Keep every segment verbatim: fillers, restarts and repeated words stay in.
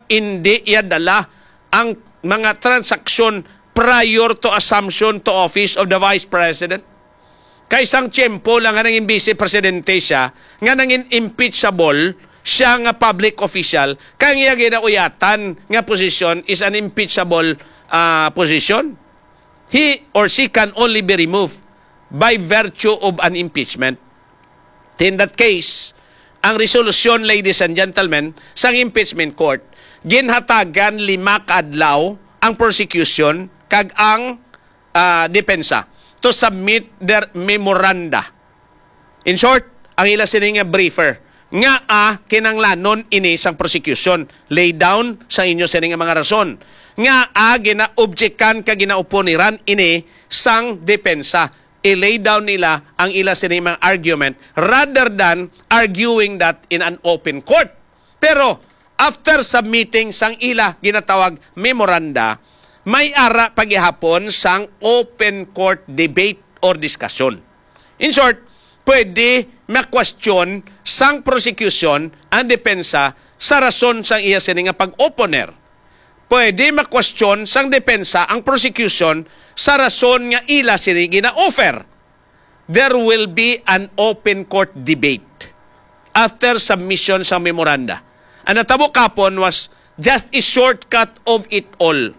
indi iya dala ang mga transaksyon prior to assumption to office of the Vice President. Kay sang tiyempo lang nga nangin Vice Presidente siya, nga nangin impeachable siya nga public official, kay ang iya ginauyatan nga posisyon is an impeachable, ah, position. He or she can only be removed by virtue of an impeachment. In that case, ang resolusyon, ladies and gentlemen, sang impeachment court, ginhatagan lima ka adlaw ang prosecution kag ang, ah, depensa to submit their memoranda. In short, ang ila sini nga briefer, nga, ah, kinanglanon ini sang prosecution, lay down sa inyo sini nga mga rason, nga, ah, ginaobjekan ka ginaoponiran ini sang depensa, i-lay down nila ang ila sini mga argument rather than arguing that in an open court. Pero after submitting sang ila ginatawag memoranda, may ara pa gihapon sang open court debate or discussion. In short, pwede ma-question sang prosecution ang depensa sa rason sang iya sini nga pag-opponer. Pwede ma-question sang depensa ang prosecution sa rason nga ila sini gina-offer. There will be an open court debate after submission sang memoranda. Ang natabo kapon was just a shortcut of it all.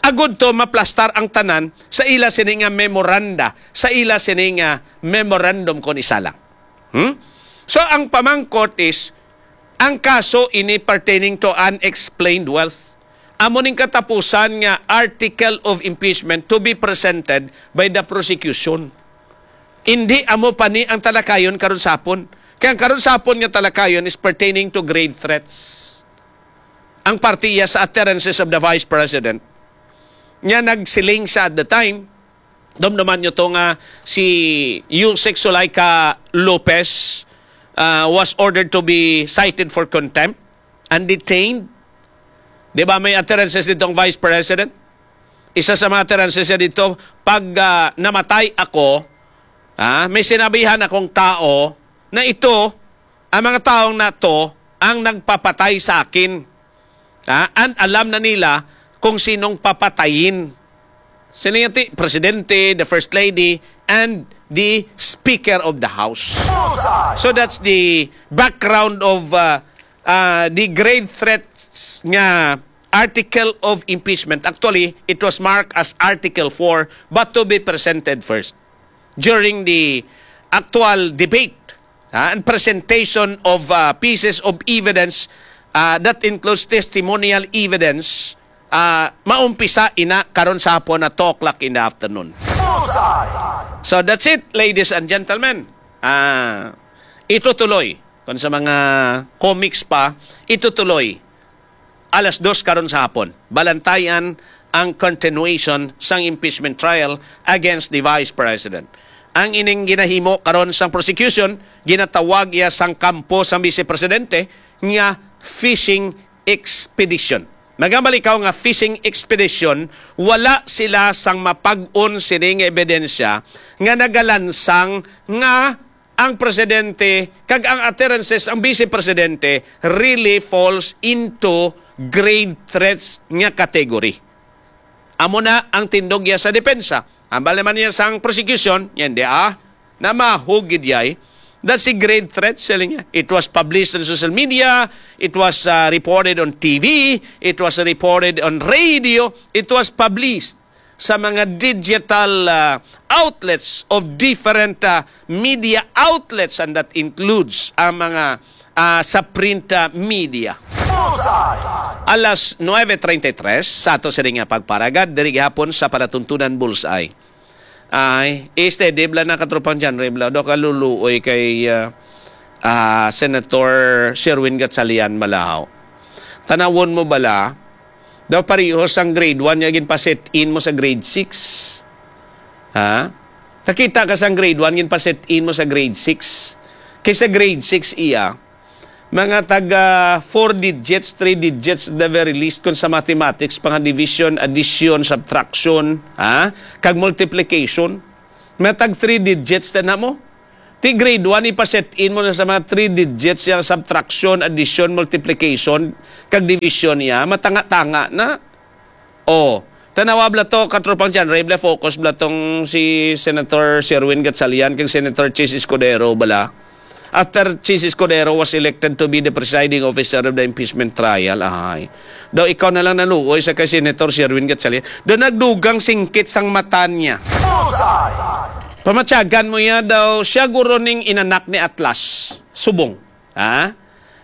Agud to maplastar ang tanan sa ila sini nga memoranda, sa ila sini nga memorandum kon isa lang. Hmm? So, ang pamangkot is, ang kaso ini pertaining to unexplained wealth. Amo ning katapusan nga article of impeachment to be presented by the prosecution. Hindi amo pa ni ang talakayon karon sapon. Kay ang karon sapon nga talakayon is pertaining to grave threats. Ang parte iya sa utterances of the Vice President. Nya nagsiling siya at the time, dumduman nyo to nga si Usec Zuleika Lopez, ah, was ordered to be cited for contempt and detained. Di ba may utterances dito ang Vice President? Isa sa mga utterances niya dito, pag, ah, namatay ako, ah, may sinabihan akong tao na ito, ang mga taong na to, ang nagpapatay sa akin. Ah, and alam na nila kung sinong papatayin. Sino yung ti-, Presidente, the First Lady, and the Speaker of the House. Bullseye! So that's the background of, uh, uh, the grave threats nga article of impeachment. Actually, it was marked as Article four, but to be presented first during the actual debate, ah, and presentation of, ah, pieces of evidence, ah, that includes testimonial evidence, ah, maumpisa ina karon sa hapon na two o'clock in the afternoon. Bullseye! So that's it, ladies and gentlemen. Ah, itutuloy. Kung sa mga comics pa, itutuloy alas dos karon sa hapon, balantayan ang continuation sang impeachment trial against the Vice President. Ang ining ginahimo karon sang prosecution, ginatawag iya sang kampo sang Vice Presidente nga fishing expedition. Magambal ikaw nga fishing expedition, wala sila sang mapag-on sini nga ebidensya nga nagalansang nga ang presidente kag ang utterances ang vice presidente really falls into grave threats nga category. Amo na ang tindog niya sa depensa. Ang bali man niya sang prosecution, yan di ah, na mahugid yay, that si grave threats, sila niya. It was published on social media, it was, uh, reported on T V, it was reported on radio, it was published sa mga digital, ah, outlets of different, ah, media outlets, and that includes ang mga, ah, sa print, ah, media. Bullseye! Alas nuebe treinta y tres sa ato sini nga pagparagad diri gihapon sa Palatuntunan Bullseye. Ay, steady bala na, katropang John Ray bala. Do ka luluoy kay, ah, ah, Senator Sherwin Gatchalian Malahaw. Tanawon mo bala, daw parehos ang grade one nga ginpa-set in mo sa grade six. Ha? Nakita ka sang grade one ginpa-set in mo sa grade six. Kay sa grade six iya, mga taga four digits, three digits at the very least kung sa mathematics, pa nga division, addition, subtraction, ha? Kag multiplication. Mga tag three digits na mo. Ti grade one, ipa-set in mo na sa mga three digits, yang subtraction, addition, multiplication, kag division niya, matanga-tanga na. Oh, tanawa bala to, katropang John Ray, bala focus bala tong si Senator Sherwin Gatchalian kag Senator Chiz Escudero bala. After Chiz Escudero was elected to be the presiding officer of the impeachment trial, ay. Daw ikaw na lang naluoy sa kay Senator Sherwin Gatchalian. Daw nagdugang singkit sang mata niya. Bullseye! Pamatyagan mo ya daw, siya guro ning inanak ni Atlas. Subong. Ha?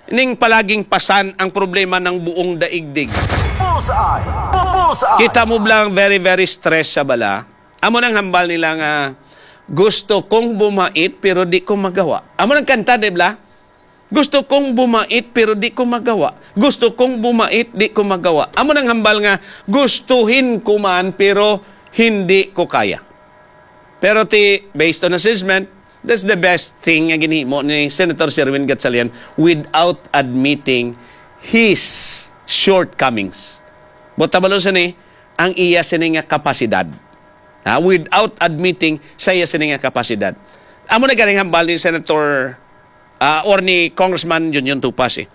Ning palaging pasan ang problema ng buong daigdig. Bullseye! Bu-, bullseye! Kita mo lang very, very stressed sa bala. Amo nang hambal nila nga, "Gusto kong bumait pero di ko magawa." Amo nang kanta, di ba? "Gusto kong bumait pero di ko magawa. Gusto kong bumait, di ko magawa." Amo nang hambal nga, "Gustuhin ko man pero hindi ko kaya." Pero ti, based on assessment, that's the best thing nga ginhimo ni Senator Sherwin Gatchalian without admitting his shortcomings. Buot silingon sini, ang iya sini nga kapasidad. Ha? Without admitting sa iya sini nga kapasidad. Amo na ganing hambal ni Senator, ah, or ni Congressman Junjun Tupas, eh.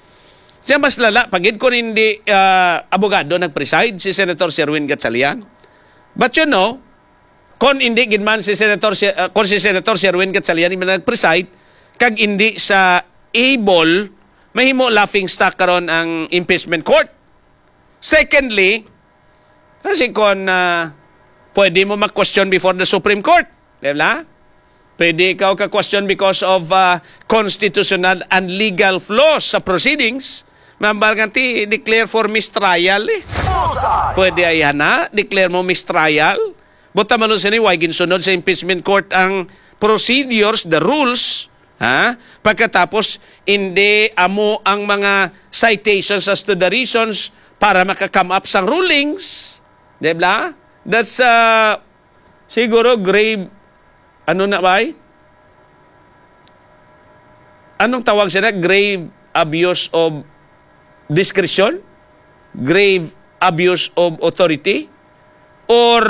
Siya mas lala, pagid kung hindi, ah, abogado nag-preside si Senator Sherwin Gatchalian. But you know, kung hindi gid man si Senator Si-, ah, kung si Senator Sherwin Gatchalian man nag-preside, kag hindi sa able, mahimo laughing stock karon ang impeachment court. Secondly, kasi kung, ah, pwede mo mag-question before the Supreme Court, di ba? Pwede ikaw ka-question because of, ah, constitutional and legal flaws sa proceedings. Mambal nga ti, declare for mistrial, eh. Bullseye! Pwede ay hana, declare mo mistrial. Buta malo sini, why ginsunod sa impeachment court ang procedures, the rules, ha? Pagkatapos, hindi amo ang mga citations as to the reasons para maka-come up sang rulings. Di ba? That's, uh, siguro grave, ano na ba, eh? Anong tawag sila? Grave abuse of discretion? Grave abuse of authority? Or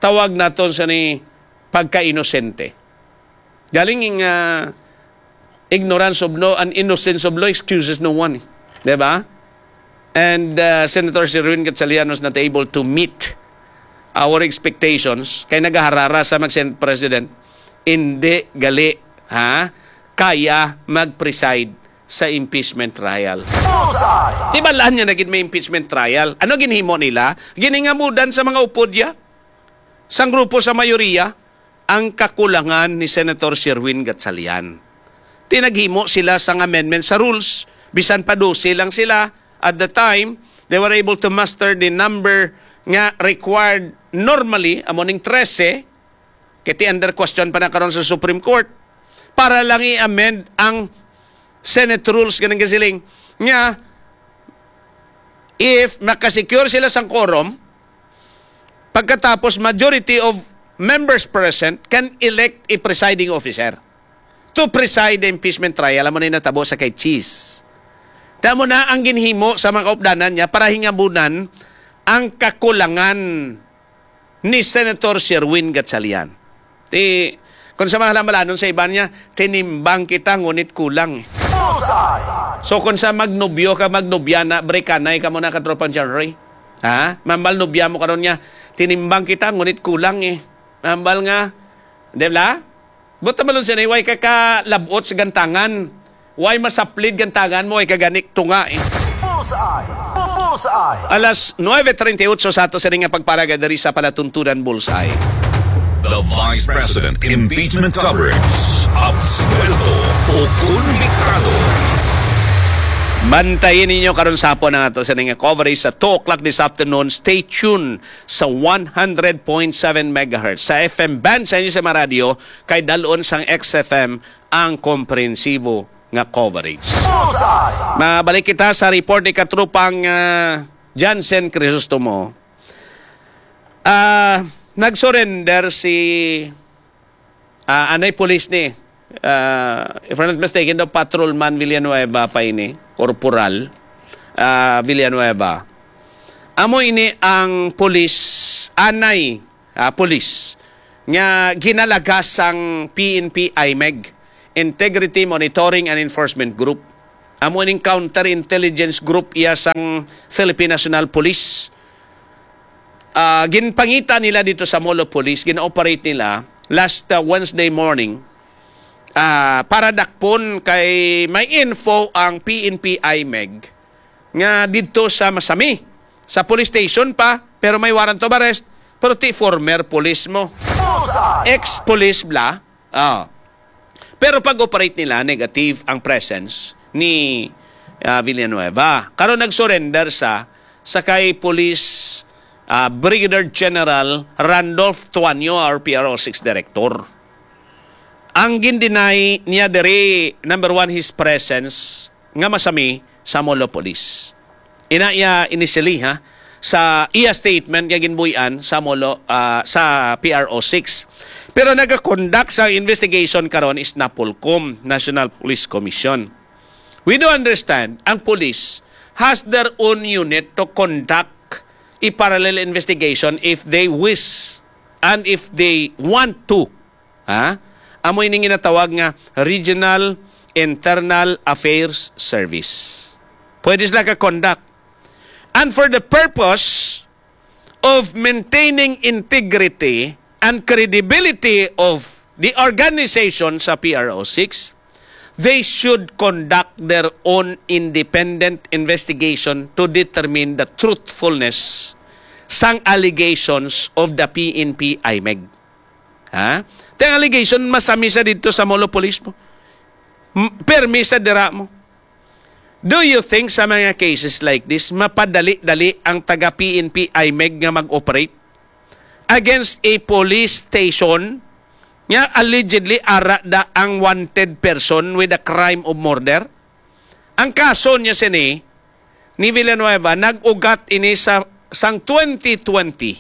tawag naton sa ni pagka-inosente? Galing nga ignorance of law and innocence of law excuses no one, eh. Di ba? And, uh, Senator Sherwin Gatchalian was not able to meet our expectations kay nagaharara sa mag-Senate President, hindi gali, ha, kaya mag-preside sa impeachment trial. Bullseye! Tibalaan niya na gid may impeachment trial. Ano ginhimo nila? Giningamudan sa mga upod ya, sang grupo sa mayoriya, ang kakulangan ni Senator Sherwin Gatchalian. Tinaghimo sila sang amendment sa rules, bisan pa dose lang sila at the time, they were able to muster the number nga required normally, amo ning trese, kay ti under question pa na karon sa Supreme Court, para lang i-amend ang Senate rules, ganing kasiling nga if makasecure sila sang quorum, pagkatapos majority of members present can elect a presiding officer to preside the impeachment trial. Amo na yung natabo sa kay Chiz. Tamo na ang ginhimo sa mga kaupdanan niya para hingamunan ang kakulangan ni Senator Sherwin Gatchalian. Ti, kung sa mga halamalanon sa iban niya, tinimbang kita, ngunit kulang. Bullseye! So, kung sa magnobyo ka, magnobya na, brekanay ka muna, katropang John Ray. Ha? Mambal nobya mo karon niya, tinimbang kita, ngunit kulang eh. Mambal nga, di ba? Buta malon siya, way ka kalabot sa gantangan. Way masaplid gantangan mo, ay kaganik tunga eh. Bullseye! Bu-, bullseye! Alas nuebe treinta y ocho sa ato sa nga pagparaga diri sa palatuntunan Bullseye. The Vice President Impeachment Coverage. Absuelto o konbiktado. Bantayin ninyo karon sa hapon ang ato sa nga coverage sa two o'clock this afternoon. Stay tuned sa one hundred point seven megahertz sa F M band sa inyo sa mga radyo kay dalon sang X F M ang komprehensibo nga coverage. Bullseye! Mabalik kita sa report ni katrupang, ah, Jansen Crisostomo. Ah, nag-surrender si, ah, anay pulis ni, ah, if I'm not mistaken, daw Patrolman Villanueva pa ini, Corporal, ah, Villanueva. Amo ini ang pulis, anay, ah, pulis nga ginalagas sang P N P IMEG, Integrity Monitoring and Enforcement Group. Amo ning counterintelligence group iya sang Philippine National Police. Ah, ginpangita nila dito sa Molo Police, gin-operate nila last, ah, Wednesday morning, ah, para dakpon kay may info ang P N P IMEG nga didto sa Masami, sa police station pa, pero may warrant of arrest, pero ti former police mo. Ex-police bla. Ah. Pero pag-operate nila, negative ang presence ni, ah, Villanueva. Karon nag-surrender sa, sa kay Police, ah, Brigadier General Randolph Tuanyo, our P R O six director. Ang gin-deny niya diri, number one, his presence nga Masami sa Molo Police. Ina iya initially, ha, sa iya statement nga ginbuy-an sa Molo, ah, sa P R O six. Pero nagakondak sa investigation karon is NAPOLCOM, National Police Commission. We do understand, ang police has their own unit to conduct a parallel investigation if they wish and if they want to. Ha? Amo ini ginatawag nga Regional Internal Affairs Service. Pwede sila ka-conduct. And for the purpose of maintaining integrity and credibility of the organization sa P R O six, they should conduct their own independent investigation to determine the truthfulness sang allegations of the P N P IMEG. Ha? Tang allegation, Masami sa didto sa Molo Police mo. M-, permi sa dira mo. Do you think sa mga cases like this, mapadali-dali ang taga P N P IMEG nga mag-operate against a police station nga allegedly ara da ang wanted person with a crime of murder? Ang kaso niya sini, ni Villanueva, nag-ugat ini sa, sang twenty twenty.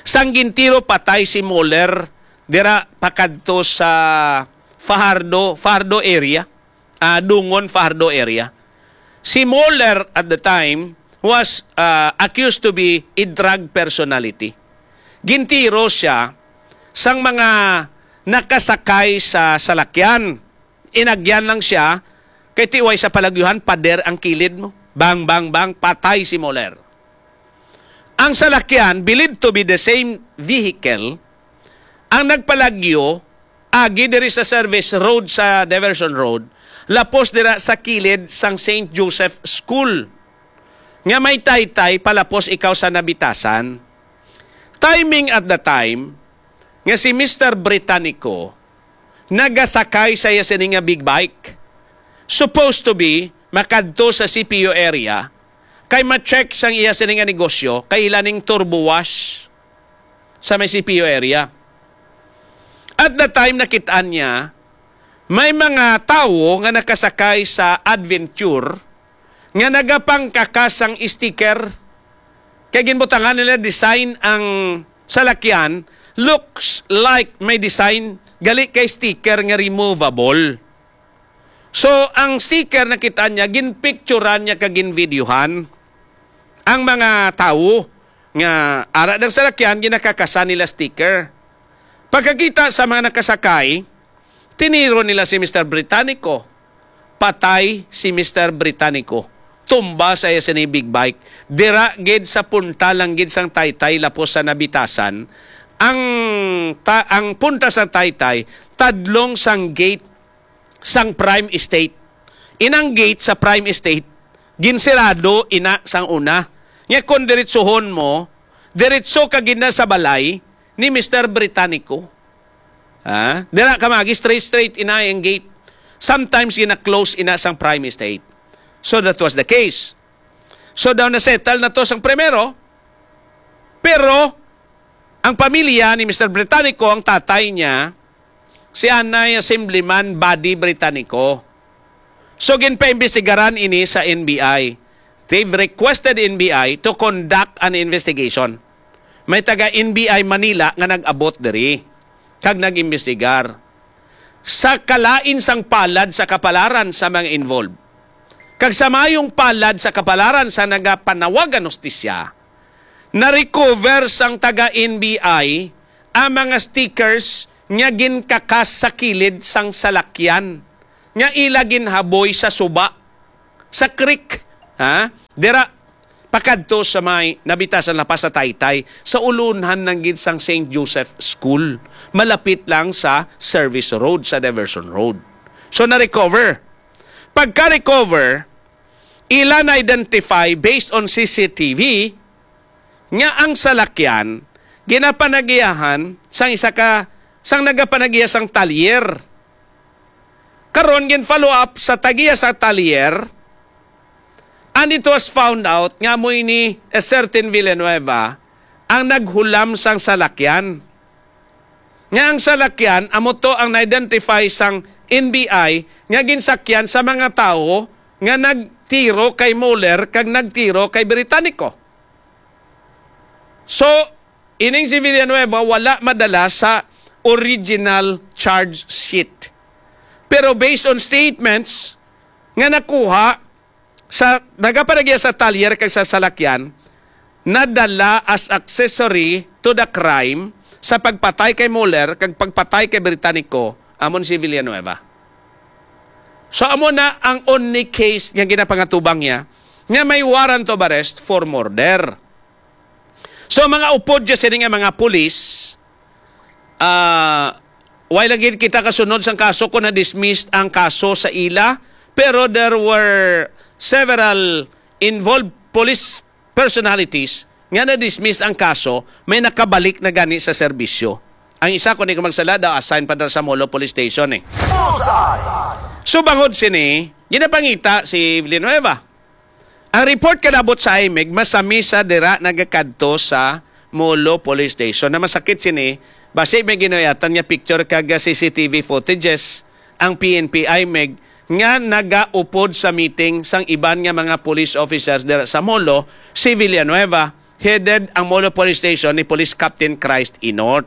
Sang gintiro patay si Muller dira pakadto sa Fajardo, Fajardo area, ah, Dungon, Fajardo area. Si Muller at the time was, ah, accused to be a drug personality. Gintiro siya sang mga nakasakay sa salakyan. Inagyan lang siya, kay tiway sa palagyuhan, pader ang kilid mo. Bang, bang, bang, patay si Muller. Ang salakyan, believed to be the same vehicle, ang nagpalagyo, agi diri sa service road, sa diversion road, lapos dira sa kilid sang Saint Joseph School. Nga may taytay, palapos ikaw sa Nabitasan. Timing at the time, nga si Mister Britannico nagasakay sa iya sini nga big bike. Supposed to be, makadto sa C P U area, kay ma-check sang iya sini nga negosyo, kay ila ning turbo wash sa may C P U area. At the time, nakit-an niya, may mga tawo nga nakasakay sa Adventure nga nagapangkakas sang sticker. Kay ginbutangan nila design ang salakyan, looks like may design, gali kay sticker nga removable. So, ang sticker nakita niya, ginpicturan niya kag ginvideohan ang mga tawo nga ara ng salakyan, ginakakasan nila sticker. Pagkakita sa mga nakasakay, tiniro nila si Mister Britannico. Patay si Mister Britannico. Tumba sa iya sini big bike. Dira gid sa punta lang gid sang taytay lapos sa Nabitasan. Ang ta-, ang punta sa taytay tadlong sang gate sang Prime Estate. Inang gate sa Prime Estate ginsirado ina sang una. Nya kon diretsohon mo, diretso ka gid na sa balay ni Mister Britannico. Ha? Dira ka magi, straight, straight, ina ang gate. Sometimes gina-close ina sang Prime Estate. So that was the case. So daw na-settle na to sang primero, pero ang pamilya ni Mister Britannico, ang tatay niya, si anay Assemblyman Buddy Britannico. So ginpaimbestigaran ini sa N B I. They've requested N B I to conduct an investigation. May taga N B I Manila nga nag-abot diri kag nag-imbestigar sa kalain sang palad sa kapalaran sa mga involved kag sa mayong palad sa kapalaran sa nagapanawagan hustisya. Na-recover sang taga N B I ang mga stickers nga ginkakas sa kilid sang salakyan, nga ila ginhaboy sa suba, sa creek, ha? Dira, pakadto sa may Nabitasan La Paz sa Taytay, sa ulunhan lang gid sang Saint Joseph School, malapit lang sa service road, sa diversion road. So, na-recover. Pagka-recover, ila na-identify based on C C T V nga ang salakyan ginapanagiyahan sang isa ka, sang nagapanagiya sang talyer. Karon, gin-follow up sa tagiya sa talyer, and it was found out nga amo ini a certain Villanueva ang naghulam sang salakyan. Nga ang salakyan, amo to ang na-identify sang N B I nga ginsakyan sa mga tawo nga nagtiro kay Mueller kag nagtiro kay Britannico. So, ining si Villanueva wala madala sa original charge sheet. Pero based on statements nga nakuha sa nagapanagiya sa talyer kag sa salakyan, nadala as accessory to the crime sa pagpatay kay Mueller kag pagpatay kay Britannico, amon si Villanueva. So, amo na ang only case nga ginapangatubang niya nga may warrant of arrest for murder. So, mga upod dya sini nga mga pulis, ah, wala gid kita kasunod sang kaso kung na-dismiss ang kaso sa ila, pero there were several involved police personalities nga na-dismiss ang kaso, may nakabalik na gani sa serbisyo. Ang isa, kung di ko magsala, daw assign pa dira sa Molo Police Station eh. Bullseye! So, bangod sini, ginapangita si Villanueva. Ang report kalabot sa IMEG, masami sa dira nagakadto sa Molo Police Station. Na masakit sini, basi may ginuyatan nga picture kag C C T V footages ang P N P IMEG nga nagaupod sa meeting sang iban nga mga police officers dira sa Molo, si Villanueva, headed ang Molo Police Station ni Police Captain Christ Inort.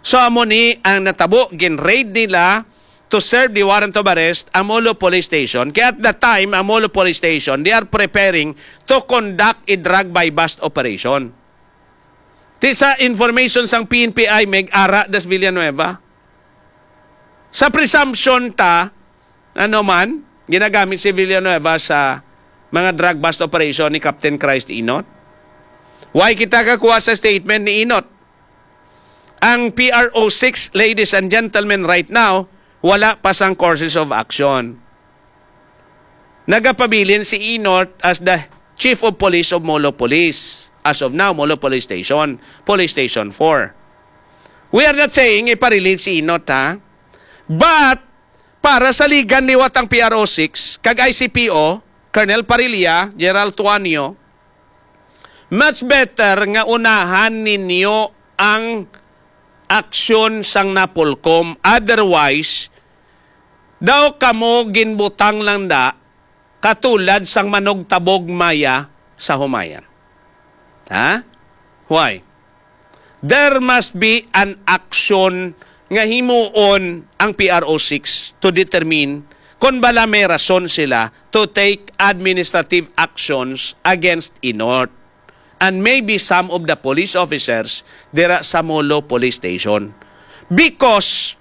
So, amo ni ang natabo, gin-raid nila to serve the warrant of arrest ang Molo Police Station. Kaya at that time, ang Molo Police Station, they are preparing to conduct a drug buy-bust operation. Ti sa information sang P N P I, may ara das Villanueva. Sa presumption ta, ano man, ginagamit si Villanueva sa mga drug bust operation ni Captain Christ Inot. Why kita kakuha sa statement ni Inot? Ang P R O six, ladies and gentlemen, right now, wala pa sang courses of action. Nagapabilin si Inot as the chief of police of Molo Police. As of now, Molo Police Station, Police Station four. We are not saying ipa-release si Inot, ha? But, para sa ligan liwat ang P R O six, kag I C P O, Colonel Parilla, General Tuanio, much better nga unahan ninyo ang aksyon sang Napolcom. Otherwise, daw kamo ginbutang lang da katulad sang manugtabog maya sa humayan. Ha? Why? There must be an action nga himuon ang P R O six to determine kon bala may rason sila to take administrative actions against Inot and maybe some of the police officers dira sa Molo Police Station. Because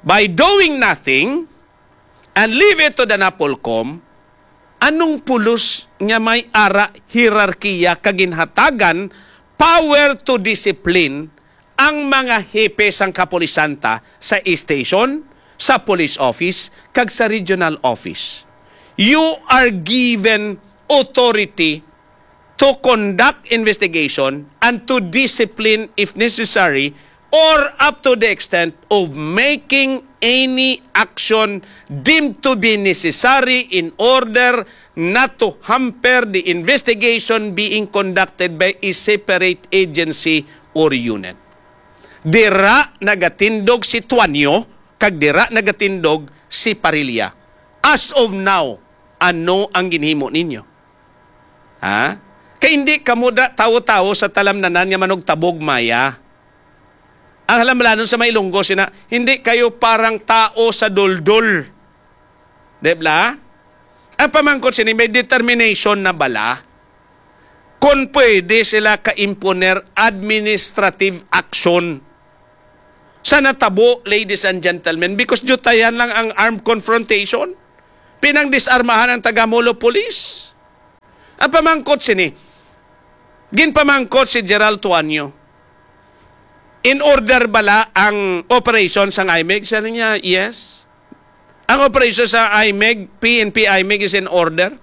by doing nothing and leave it to the Napolcom, anong pulos nga may ara hierarkiya kag ginhatagan power to discipline ang mga hepe sang kapulisan ta sa station, sa police office, kag sa regional office? You are given authority to conduct investigation and to discipline if necessary or up to the extent of making any action deemed to be necessary in order not to hamper the investigation being conducted by a separate agency or unit. Dira nagatindog si Tuanyo kag dira nagatindog si Parilla. As of now, ano ang ginhimo ninyo? Ha? Kay hindi kamo da, tawo-tawo sa talamnanan nga manugtabog maya. Ang halamlanon sa may Ilonggo sina, hindi kayo parang tao sa duldul. Di bala? Ang pamangkot sini, may determination na bala kung pwede sila ka-imponer administrative action sa natabo, ladies and gentlemen, because diyutayan lang ang armed confrontation. Pinangdisarmahan ang taga-Molo Police. Ang pamangkot sini, ginpamangkot si Gerald Tuanyo, "In order bala ang operation sang IMEG?" Sabi niya, "Yes." Ang operation sa IMEG, P N P IMEG is in order.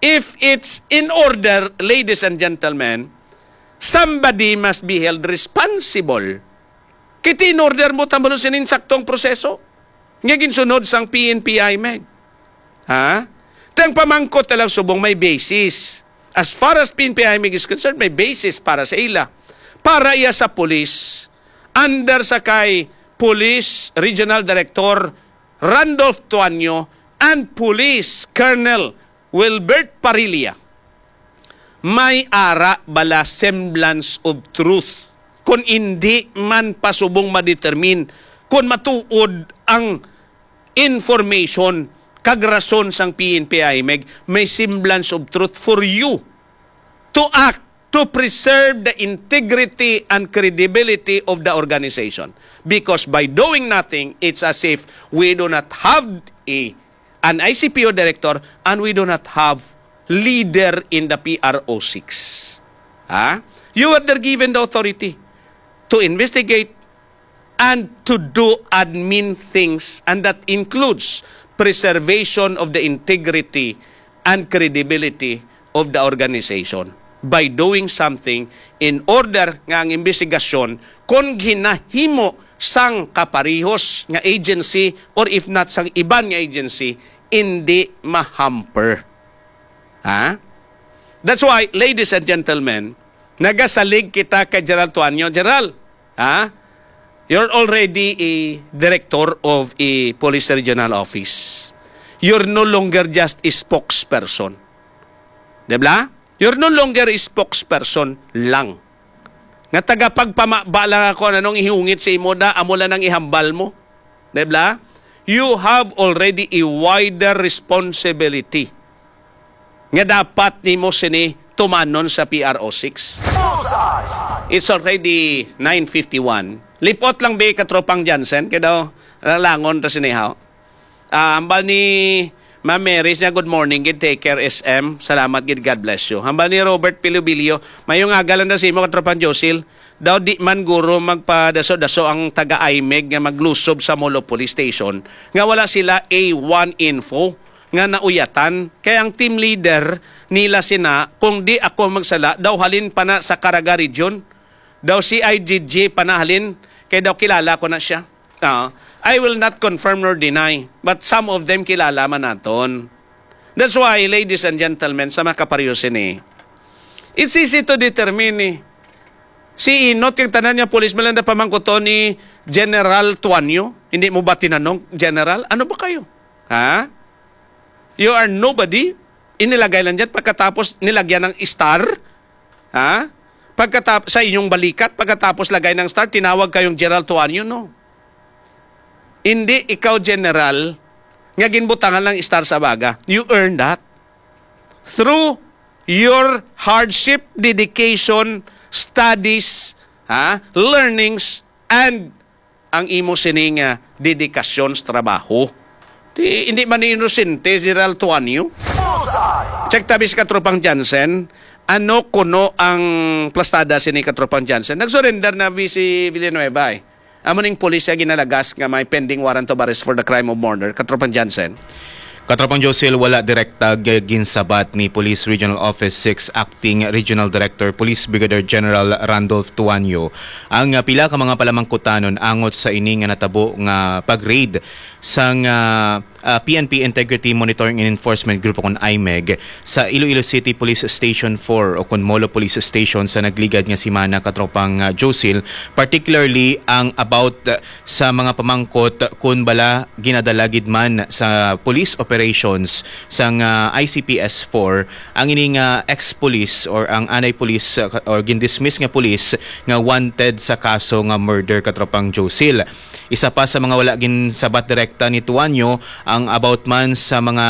If it's in order, ladies and gentlemen, somebody must be held responsible. Kay in order mo tambalo sinin saktong proseso nga ginsunod sang P N P IMEG. Ha? Tang pamangkot na lang subong may basis. As far as P N P IMEG is concerned, may basis para sa ila. Para iya sa police, under sa kay Police Regional Director Randolph Tuanyo and Police Colonel Wilbert Parilla, may ara bala semblance of truth? Kung indi man pasubong ma-determine kung matuod ang information kag rason sang P N P IMEG, may semblance of truth for you to act to preserve the integrity and credibility of the organization. Because by doing nothing, it's as if we do not have a, an I C P O director and we do not have leader in the P R O six. Ha? You were there given the authority to investigate and to do admin things, and that includes preservation of the integrity and credibility of the organization by doing something in order nga ang imbestigasyon, kung ginahimo sang kaparehos nga agency or if not sang iban nga agency, hindi ma-hamper. Ha? That's why, ladies and gentlemen, nagasalig kita kay General Tuanyo. General, ha? You're already a director of a police regional office. You're no longer just a spokesperson. Di ba? You're no longer a spokesperson lang. Nga tagapagpamaba lang ako, anong ihungit sa imo da, amo lang ang ihambal mo. Di ba? You have already a wider responsibility nga dapat nimo sini tumanon sa P R O six. Bullseye! It's already nine fifty-one. Lipot lang, be, katropang Jansen, kay daw lalangon ta sini, haw. Ah, hambal ni Ma'am Mary niya, "Good morning gid, take care, S M. Salamat gid, God bless you." Hambal ni Robert Pilobilio, "Mayong aga lang daw sa imo, katropang Josil. Daw di man guro magpadaso-daso ang taga-IMEG nga maglusob sa Molo Police Station nga wala sila A one info nga nauyatan. Kay ang team leader nila sina, kung di ako magsala, daw halin pa na sa Caraga Region. Daw C I G G pa na halin, kay daw kilala ko na siya." Ah, I will not confirm nor deny, but some of them kilala man naton. That's why, ladies and gentlemen, sa mga kapareho sini, it's easy to determine, eh. Si Inot kag tanan nga pulis, man lang na pamangkuton ni General Tuanyo. Hindi mo ba tinanong, "General, ano ba kayo? Ha? You are nobody." Inilagay lang dyan, pagkatapos nilagyan ng star. Ha? Pagkatap-, sa inyong balikat, pagkatapos lagay ng star, tinawag kayong General Tuanyo, no? Hindi ikaw general nga ginbutangan lang star sa baga. You earn that through your hardship, dedication, studies, ha, learnings, and ang imo sining, ah, dedikasyon sa trabaho. Di, hindi man ni inosente si General Tuanyo. Bullseye! Check tabi sa katropang Jansen, ano kuno ang plastada sini, katropang Jansen? Nag-surrender na bi si Villanueva, eh. Amo ning pulis nga ginalagas nga may pending warrant of arrest for the crime of murder, katropang Jansen. Katropang Josil, wala direkta g-, ginsabat ni Police Regional Office six Acting Regional Director Police Brigadier General Randolph Tuanyo ang, ah, pila ka mga palamangkutanon angot sa ini nga natabo nga pag-raid sang, ah, ah, P N P Integrity Monitoring and Enforcement Group o kon IMEG sa Iloilo City Police Station four o kon Molo Police Station sa nagligad nga semana, katropang, ah, Josil, particularly ang about, ah, sa mga pamangkot kun bala ginadala gid man sa police operations sang, ah, I C P S four ang ini nga ex-police or ang anay police, ah, or gindismiss nga police nga wanted sa kaso nga murder, katropang Josil. Isa pa sa mga wala ginsabat direkta ni Tuanyo ang about man sa mga,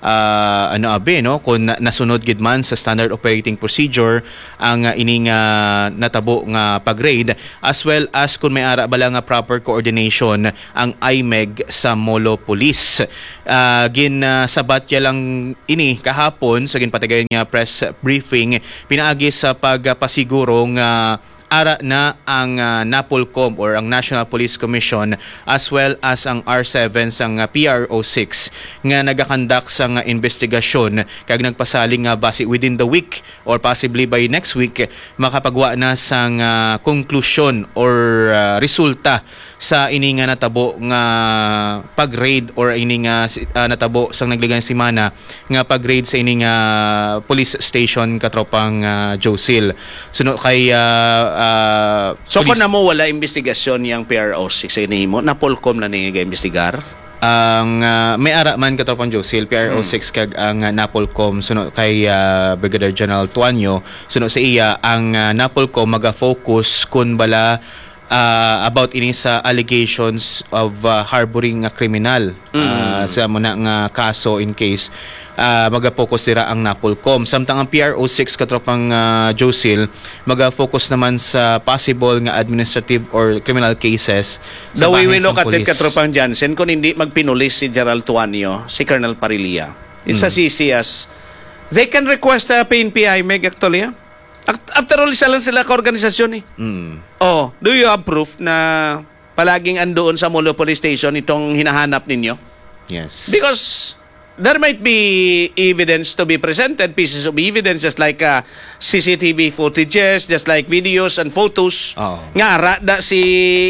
ah, ano, abi, no, kung na-, nasunod gid man sa standard operating procedure ang, ah, ining, ah, natabo nga pag-raid, as well as kung may ara bala nga proper coordination ang imeg sa Molo Police. Ah, gin, ah, sabat ya lang ini kahapon sa ginpatigayon nga press briefing pinaagi sa pagpasiguro nga ara na ang, ah, NAPOLCOM or ang National Police Commission, as well as ang R seven sang, ah, P R O six nga nagakandak sang, ah, investigasyon kag nagpasalig nga basi within the week or possibly by next week makapagwa na sang, ah, konklusyon or, ah, resulta sa ini nga natabo nga pag-raid or ini nga si-, ah, natabo sang nagligay nga semana nga pag-raid sa ini nga police station, katropang, ah, Josil. Suno kay, ah, ah, So, police kung namo wala investigasyon yang P R O six sa inimo, NAPOLCOM na ni ga-imbestigar? Ang, ah, may ara man, katropang Josil, P R O six kag ang, ah, NAPOLCOM, suno kay, ah, Brigadier General Tuanyo, suno sa iya, ang, ah, NAPOLCOM maga-focus kun bala, ah, about ini sa allegations of, ah, harboring nga kriminal, ah, sa mo na nga kaso in case, ah, maga-focus dira ang NAPOLCOM. Samtang ang P R O six, katropang, ah, Josil, maga-focus naman sa possible nga administrative or criminal cases sa The way we bahin look sang at it, pulis. Katropang Jansen, kung hindi magpinulis si General Tuanyo, si Colonel Parrilla, it's as Mm. easy as they can request a P N P I meg actually, ah. Act-, after all, isa lang sila ka organisasyon eh. Mm. Oh, do you have proof na palaging andoon sa Molo Police Station itong hinahanap ninyo? Yes. Because there might be evidence to be presented, pieces of evidence just like, uh, C C T V footages, just like videos and photos. Oo. Nga ara da si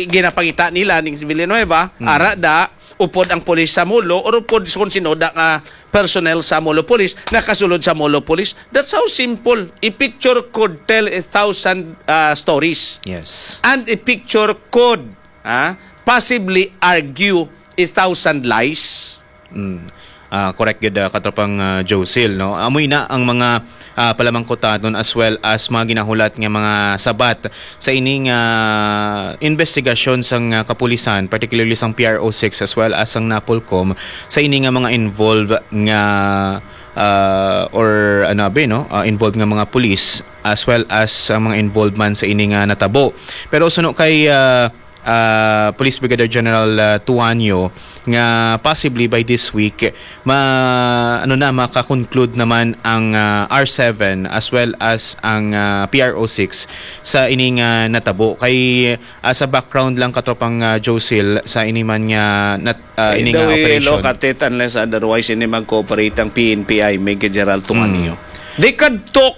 ginapangita nila ning si Villanueva, Mm. ara da upod ang pulis sa Molo or upod kung sino da nga personnel sa Molo Police nakasulod sa Molo Police. That's how simple. A picture could tell a thousand, uh, stories. Yes. And a picture could, ah, possibly argue a thousand lies. Mm. Ah, correct gid, ah, katropang, ah, Josil, no? Amoy na ang mga, ah, palamangkutanon as well as mga ginahulat nga mga sabat sa ining, ah, investigasyon sang, ah, kapulisan, particularly sang P R O six as well as sang NAPOLCOM, sa ini nga mga involved nga, ah, or ano abi, no? Ah, involved nga mga pulis as well as ang mga involved man sa ini nga natabo. Pero suno kay, ah, ah, Police Brigadier General, ah, Tuanyo nga possibly by this week ma-, ano na, maka-conclude naman ang, ah, R seven as well as ang, ah, P R O six sa ining, ah, natabo. Kay, ah, sa background lang, katropang, ah, Josil, sa ini man nga nat-, ah, By ini the nga way, operation. Look at it, unless otherwise, hindi mag-cooperate ang P N P I, Major General Tuanyo. Mm. They could talk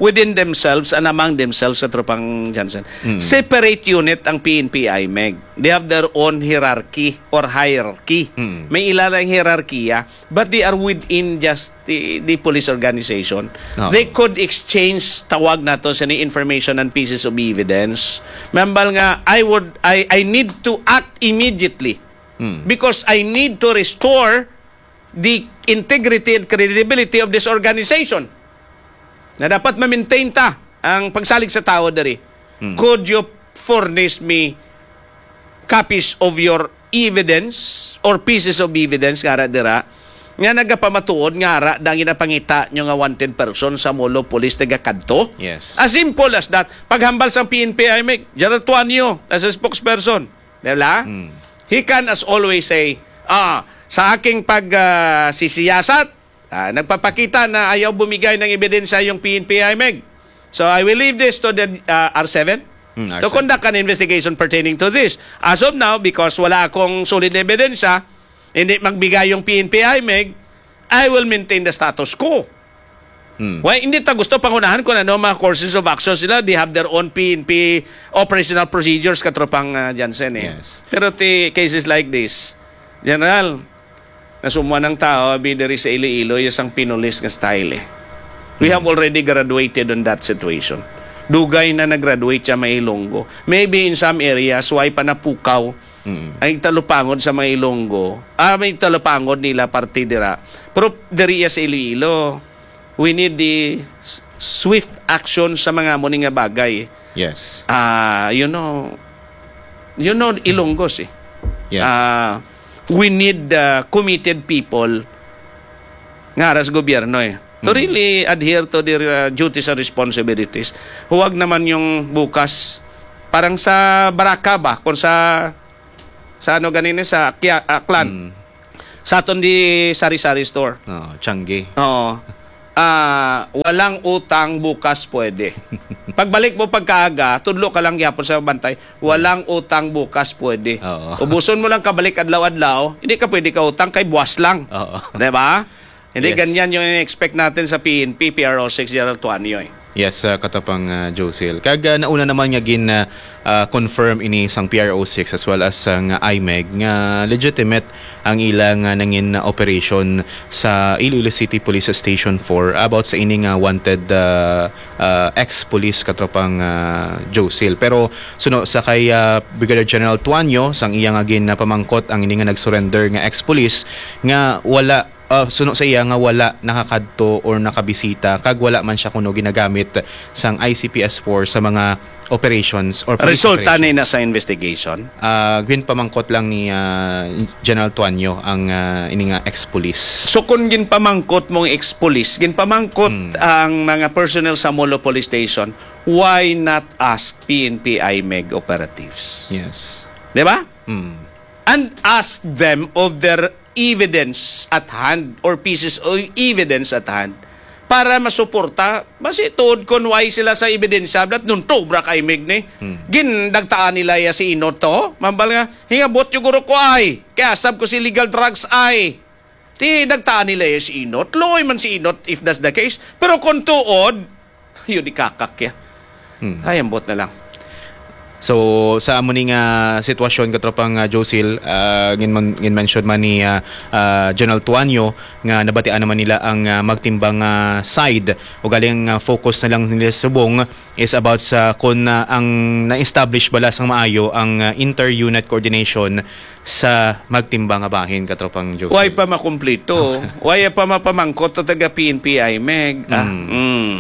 within themselves and among themselves, katropang Johnson. Mm. Separate unit ang P N P I meg. They have their own hierarchy or hierarchy. Mm. May ila lang hierarkiya, but they are within just the, the police organization. Oo. They could exchange, tawag nato sa ni, information and pieces of evidence. Mambal nga, I would, I, I need to act immediately Mm. because I need to restore the integrity and credibility of this organization. Na dapat ma-maintain ta ang pagsalig sa tao diri. Hmm. Could you furnish me copies of your evidence or pieces of evidence nga ara dira nga nagapamatuod nga ara da ang ginapangita nyo nga wanted person sa Molo Police taga kadto? Yes. As simple as that. Paghambal sang P N P I meg, General Tuanyo, as a spokesperson, di ba? Hmm. He can as always say, "Ah, sa aking pag, ah, sisiyasat, ah, nagpapakita na ayaw bumigay ng ebidensya yung P N P I meg. So I will leave this to the, ah, R seven Hmm, to R seven. conduct an investigation pertaining to this. As of now, because wala akong solid na ebidensya, hindi magbigay yung P N P I meg, I will maintain the status quo." Hmm. Why, hindi ta gusto pangunahan kung ano mga courses of action sila. They have their own P N P operational procedures, katropang, ah, Jansen, eh. Yes. Pero ti cases like this, General, nasumuan ang tao, abi, diri sa Iloilo, yung sang pinulis nga style, eh. We have Hmm. already graduated on that situation. Dugay na nag-graduate siya, may Ilonggo. Maybe in some areas, why pa napukaw Mm. ang talupangod sa mga Ilonggo? Ah, may talupangod nila parte dira. Pero diri iya sa Iloilo, we need the s-, swift action sa mga amo ni nga bagay. Yes. Ah, you know, you know, Ilonggos eh. Yes. Ah, we need, ah, committed people nga ara sa gobyerno eh. To Mm. really adhere to their uh, duties and responsibilities. Huwag naman yung bukas, parang sa baraka ba, kung sa, sa ano ganini, sa Kia, ah, Clan. Mm. Sa aton di sari-sari store. Oo, Changi. Oo. Ah, walang utang bukas pwede. Pagbalik mo pagkaaga, tudlo ka lang gyapon sa bantay, walang utang bukas pwede. Oo. Ubuson mo lang kabalik adlaw-adlaw, hindi ka pwede ka utang kay buwas lang. Oo. Di ba? Hindi Yes. ganyan yung in-expect natin sa P N P, P R O six, General Tuanyo eh. Yes, uh, katapang uh, Josil. Kag uh, nauna naman nga gin uh, uh, confirm ini sang P R O six as well as sang I M E G nga legitimate ang ilang uh, nangin operation sa Iloilo City Police Station four about sa ini nga wanted uh, uh, ex-police katropang uh, Josil. Pero suno sa kay uh, Brigadier General Tuanyo, sang iya nga ginpamangkot ang ini nga nag-surrender nga ex-police nga wala uh, suno sa iya nga wala nakakadto or nakabisita kag wala man siya kuno ginagamit sang I C P S four sa mga operations or police Resulta operations. ni na sa investigation? Ah, ginpamangkot lang ni ah, General Tuanyo ang ah, ini nga ex-police. So kung ginpamangkot mong ex-police, ginpamangkot Hmm. ang mga personnel sa Molo Police Station, why not ask P N P I M E G operatives? Yes. Di ba? Hmm. And ask them of their evidence at hand or pieces of evidence at hand para masuporta. Basi tuod kon why sila sa ebidensya, dat nun tubra kay mig ni. Hmm. Gindagtaan nila ya si Inot to. Mambal nga, hingabot yung guro ko ay. Kaya sab ko si legal drugs ay. Ti nagtaan nila ya si Inot. Luoy man si Inot if that's the case. Pero kung tuod, yun ikakak ya. Hmm. Ay, ambot na lang. So sa amo ni nga sitwasyon, katropang uh, Josil, uh, gin-, gin-mention man ni uh, uh, General Tuanyo nga nabatian naman nila ang uh, magtimbang uh, side o galing uh, focus na lang nila subong is about sa kung uh, ang na-establish bala sang maayo ang uh, inter-unit coordination sa magtimbang nga bahin, katropang Josil. Why pa makumplito? Why pa mapamangkot to taga P N P I M E G? Ah, Mm. mm.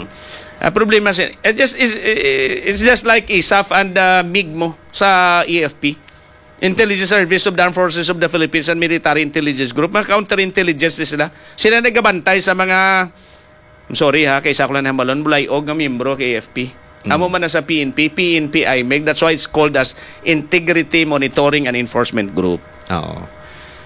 Ang problema si it just is it's just like isaf and uh, mig mo sa E F P. Intelligence Service of the Armed Forces of the Philippines and Military Intelligence Group, mga counterintelligence ni sila. Sila nagabantay sa mga, I'm sorry ha, kaysa ako lang namalon, bulayog nga miyembro kay A F P. Amo man na sa P N P, P N P I M E G. That's why it's called as Integrity Monitoring and Enforcement Group. Oo.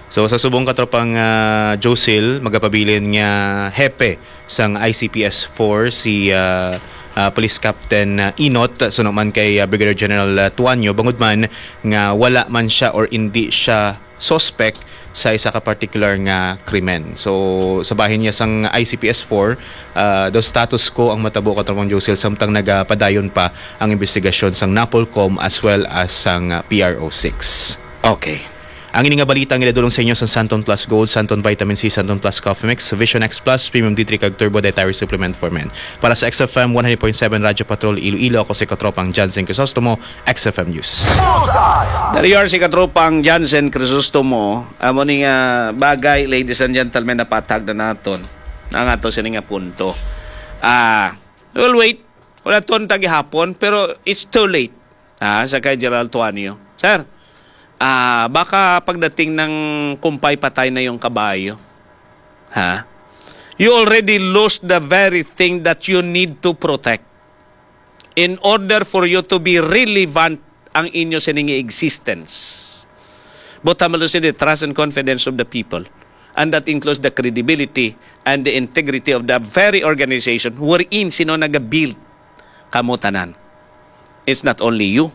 So sa subong, katropang uh, Josil, magapabilin nga hepe sang I C P S four si uh, uh, Police Captain uh, Inot, suno man kay uh, Brigadier General uh, Tuanyo, bangod man nga wala man siya or indi siya suspect sa isa ka particular nga krimen. So sa bahin niya sang I C P S four, uh, daw status quo ang matabo, katropang Josil, samtang nagapadayon pa ang investigasyon sang NAPOLCOM as well as sang uh, P R O six. Okay. Ang ini nga balita ang ginadulong sa inyo sa Santon Plus Gold, Santon Vitamin C, Santon Plus Coffee Mix, Vision X Plus, Premium D three kag Turbo Dietary Supplement for Men. Para sa X F M one hundred point seven Radyo Patrol Iloilo, ako si Katropang Jansen Crisostomo, X F M News. Dari yar si Katropang Jansen Crisostomo, amo ni nga bagay, ladies and gentlemen, napatag na naton ang ato sini nga punto. Ah, we'll wait. Wala ton tagihapon, pero it's too late. Ah, sa kay General Tuanyo. Sir, ah, baka pagdating ng kumpay patay na yung kabayo. Ha? You already lost the very thing that you need to protect in order for you to be relevant ang inyo sining existence. But hamalo sini the trust and confidence of the people. And that includes the credibility and the integrity of the very organization wherein sino nagabuild kamo tanan. It's not only you,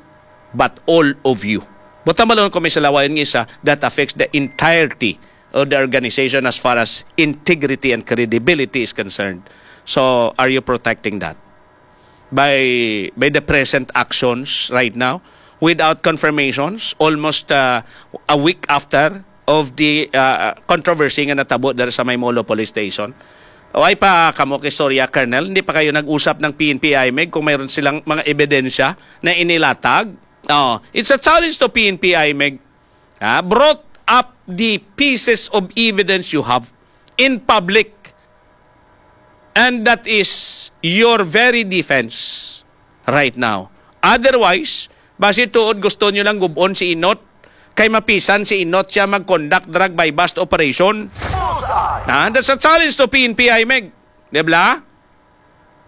but all of you. But hamalo ko may salawayon nga isa that affects the entirety of the organization as far as integrity and credibility is concerned. So, are you protecting that? By by the present actions right now without confirmations almost uh, a week after of the uh, controversy nga natabo diri sa may Molo Police Station. Why pa kamo kay istorya, Colonel? Hindi pa kayo nag-usap ng P N P I M E G kung mayroon silang mga ebidensya na inilatag? Oh, it's a challenge to P N P I M E G. Ha? Brought up the pieces of evidence you have in public. And that is your very defense right now. Otherwise, basi tuod gusto nyo lang gubon si Inot, kay mapisan si Inot siya mag-conduct drug buy-bust operation. Bullseye! Ha? That's a challenge to P N P, Imeg. Di ba?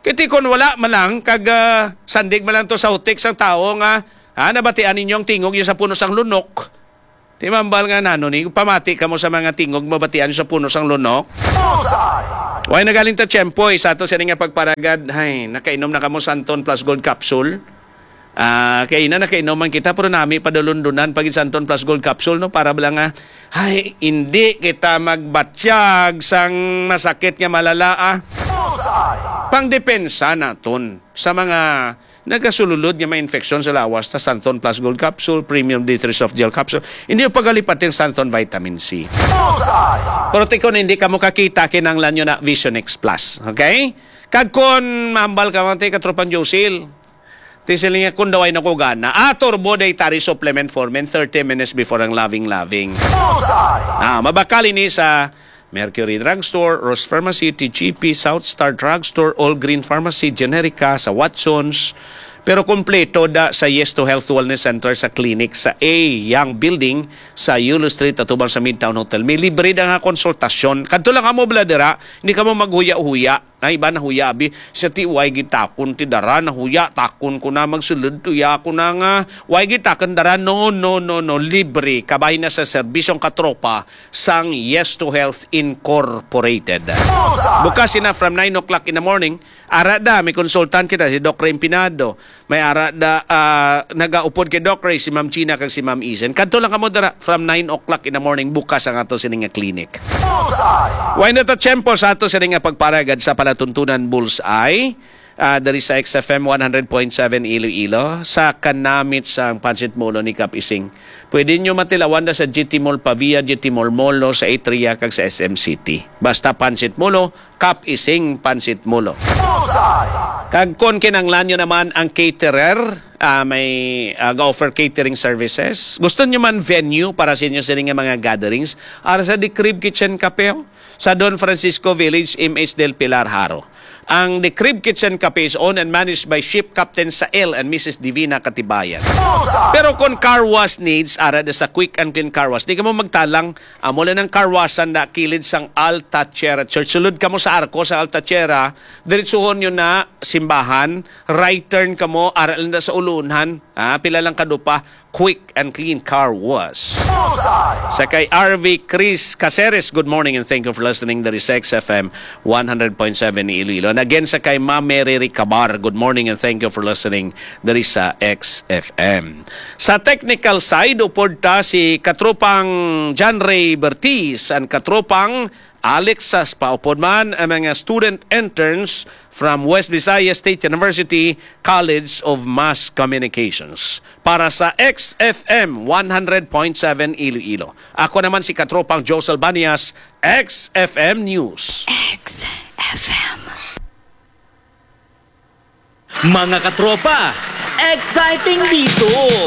Kiti kon wala man lang, kag, ah, sandig man lang to sa hutik sang tawo nga, ha, nabatian ninyo ang tingog niya sa puno sang lunok. Di mambal nga nano ni, pamati kamo sa mga tingog mabatian sa puno sang lunok. Bullseye! Way nagaling ta tiyempo, eh, sa ato sini nga pagparagad. Hay, nakainom na kamo Santon Plus Gold Capsule. Ah, kay ina nakainom man kita, pero nami padulundunan pag Santon Plus Gold Capsule, no? Para bala nga, ay, hindi kita magbatyag sang masakit nga malala, ah. Bullseye! Pangdepensa naton sa mga nagasululod nga mga infeksyon sa lawas, ta Santon Plus Gold Capsule, Premium D three Soft Gel Capsule. Hindi yung pagalipat yung Santon Vitamin C. Bullseye! Pero tikon hindi ka mo kakita, kinanglan nyo na Vision X Plus. Okay? Kag kon mahambal ka, mga tika, tropang Josil, ti sila nga, kung daw ay nakugana, ah, Turbo Dietary Supplement for Men, thirty minutes before ang loving-loving. Bullseye! Ah, mabakal ini sa Mercury Drugstore, Rose Pharmacy, T G P, South Star Drugstore, All Green Pharmacy, Generica, sa Watsons. Pero kompleto da sa Yes to Health Wellness Center sa clinic sa A Young Building sa Yulo Street, atubang sa Midtown Hotel. May libre da nga konsultasyon. Kadto lang kamo, bala, dira. Hindi kamo maghuya-huya. Ay, iba na huya, abi. Siya ti, way gitakon ti dara, nahuya, takon ko na magsulod, tuya ko na nga. Way gitakon dara, no, no, no, no, libre. Kabay na sa serbisyong katropa sang Yes to Health Incorporated. Bukas sina from nine o'clock in the morning, ara da, may konsultan kita, si Doc Ray Empinado. May ara da, ah, nagaupod kay Doc Ray, si Ma'am Gina kag si Ma'am Isen. Kadto lang kamo dira from nine o'clock in the morning bukas ang ato sini nga clinic. Bullseye! Way na ta tiyempo sa ato sini nga pagparagad sa palatuntunan Bullseye. Ah, diri sa X F M one hundred point seven Iloilo, sa kanamit sang Pancit Molo ni Kap Ising. Pwede nyo matilawan na sa G T Mall Pavia, G T Mall Molo, sa Atria, kag sa S M City. Basta Pancit Molo, Kap Ising Pancit Molo. Bullseye! Kag kon kinanglan nyo naman ang caterer, ah, may, ah, ga-offer catering services. Gusto nyo man venue para sa inyo sini nga mga gatherings? Ara sa The Crib Kitchen Cafe, oh, sa Don Francisco Village, M H Del Pilar, Jaro. Ang The Crib Kitchen Cafe is owned and managed by Ship Captain Sael and Missus Divina Katibayan. Bullseye! Pero kung car wash needs, ara na sa Quick and Clean Car Wash. Di ka mo magtalang, amo lang ang car wash na kilid sang Alta Tierra Church. Sulod ka mo sa arko sa Alta Tierra, diretsuhon nyo na simbahan, right turn ka mo, ara lang na sa ulunhan. Ah, pila lang kadupa, Quick and Clean Car Wash. Bullseye! Sa kay R V Chris Caceres, good morning and thank you for listening. Diri sa X F M one hundred point seven ni Iloilo. And again, sa kay Ma'am Mary Ricabar, good morning and thank you for listening. Diri sa X F M. Sa technical side, upod ta si katropang John Ray Bertiz and katropang Alex Saspa, upod man ang mga student interns from West Visayas State University College of Mass Communications. Para sa X F M one hundred point seven Iloilo, ako naman si Katropang Josel Banias, X F M News. X F M. Mga katropa, exciting dito!